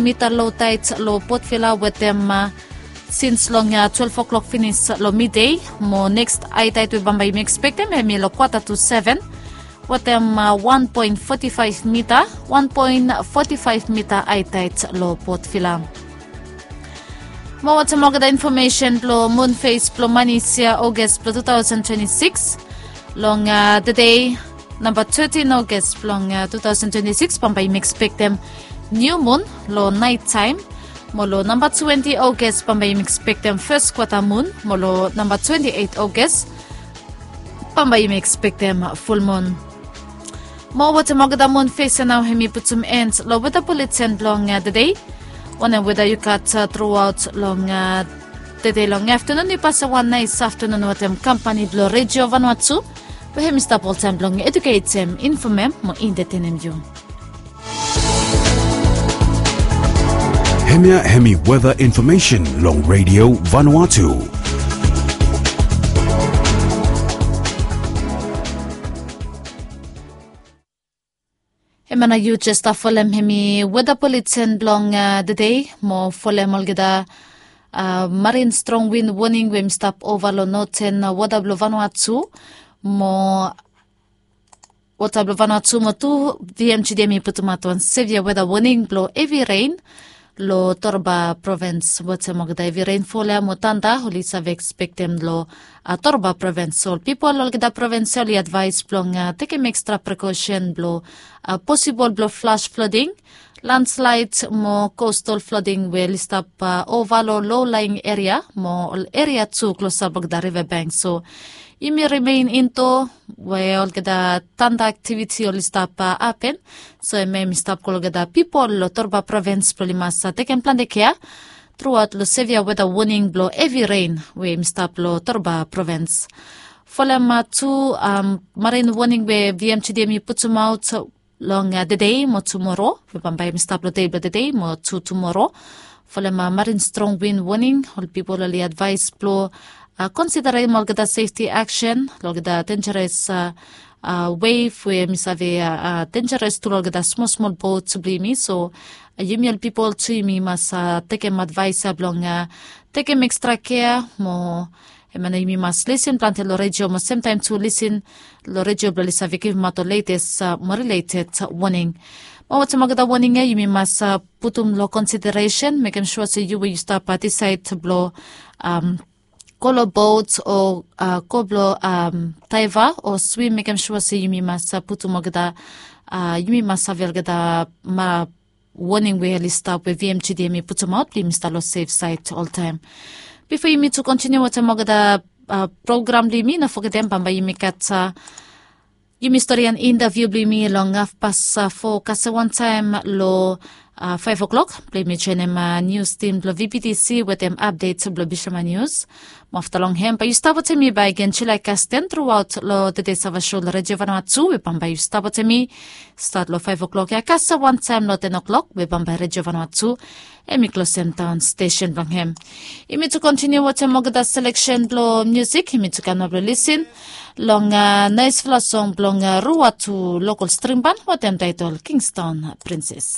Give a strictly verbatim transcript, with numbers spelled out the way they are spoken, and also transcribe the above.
mita lo taet lo Port Vila wetem sins long twelve o'clock finis lo midei. Mo neks aetaet we bambae yumi ekspektem hemi lo kwata tu seven wetem wan poen foti faef mita, wan poen foti faef mita aetaet lo Port Vila. Mo wetem olgeta infomesen blo mun fes blo manis ya Ogas blo tu taosen twenti sikis, long tede namba tetin Ogas blong tu taosen twenti sikis bambae yumi ekspektem niu mun lo naet taem. Mo lo namba twenti Ogas bambae yumi ekspektem fes kwata mun. Mo lo namba twenti eit Ogas bambae yumi ekspektem fulmun. Mo wetem olgeta mun fes ya nao hemi putum en lo weta buleten blong tede. Wanem weta yu gat truaot long tede long aftanun, yu pasem wan naes aftanun wetem kampani blo Redio Vanuatu, we hemi stap oltaem blong eduketem, infomem mo entetenem yu. Hemia hemi weta infomesen long Redio Vanuatu. Hemia nao yu jes stap folem hemi weta buleten blong tede mo folem olgeta marin strong win woning we hemi stap ova lo noten wota blo Vanuatu mo wota blo Vanuatu mo tu VMGD hemi putumaot wan sevia weta woning blo hevi ren lo Torba provens. Wetem olgeta hevi renfol ya mo tanda oli save ekspektem lo Torba provens. So ol pipol olgeta provens ya oli advaes blong tekem ekstra prekosen blo posibol blo flas floding, landslaed mo kostal floding we oli stap ova lo low laing eria mo ol eria tu klosap olgeta riva bank. So yumi rimen indoa we olgeta tanda aktiviti oli stap hapen. So hemia hemi stap go olgeta pipol lo Torba provens blo oli mas tekem plante kea truaot lo sevia weta woning blo hevi ren we hemi stap lo Torba provens. Folem tu marin woning we VMGD hemi putumaot long tede mo tumoro, we bambae hemi stap lo dei blo tede mo tu tumoro. Folem marin strong win woning, ol pipol oli advaes blo konsiderem olgeta sefti aksen lo olgeta denjeres wev we hemi save denjeres tu lo olgeta smol smol bot blo yumi. So yumi ol pipol tu yumi mas tekem advaes ya blong tekem ekstra kea mo hemia nao yumi mas lisin plante lo redio mo semtaem tu lisin lo redio blo oli save givimaot ol letes mo rileted woning. Mo wetem olgeta woning ya yumi mas putum lo konsideresen, mekem sua se yu we yu stap disaed blo go lo bot o go blo daeva o swim, mekem sua se yumi mas putum olgeta, yumi mas save olgeta ma woning we oli stap we VMGD hemi putumaot blo yumi stap lo sef saed oltaem. Bifo yumi tu kontiniu wetem olgeta program blo yumi, no fogetem bambae yumi gat yumi stori an intaviu blo yumi long hafpas fo kasem wantaem lo faef o'klok blo yumi joenem nius tim blo VBTC wetem apdet blo Bishaman Nius. Mo afta long hem bae yu stap wetem mi bakegen Julae Kasten truaot lo tede Sava Sho lo Redio Vanuatu, we bambae yu stap wetem mi stat lo faef o'klok ya kasem wantaem lo ten o'klok, we bambae Redio Vanuatu hemi klosem daon stesen blong hem. Yumi tu kontiniu wetem olgeta seleksen blo musik, yumi tu kam nao blo lisin long naesfala song blong Ruatu lokol strim ban wetem taetol Kingston Prinses.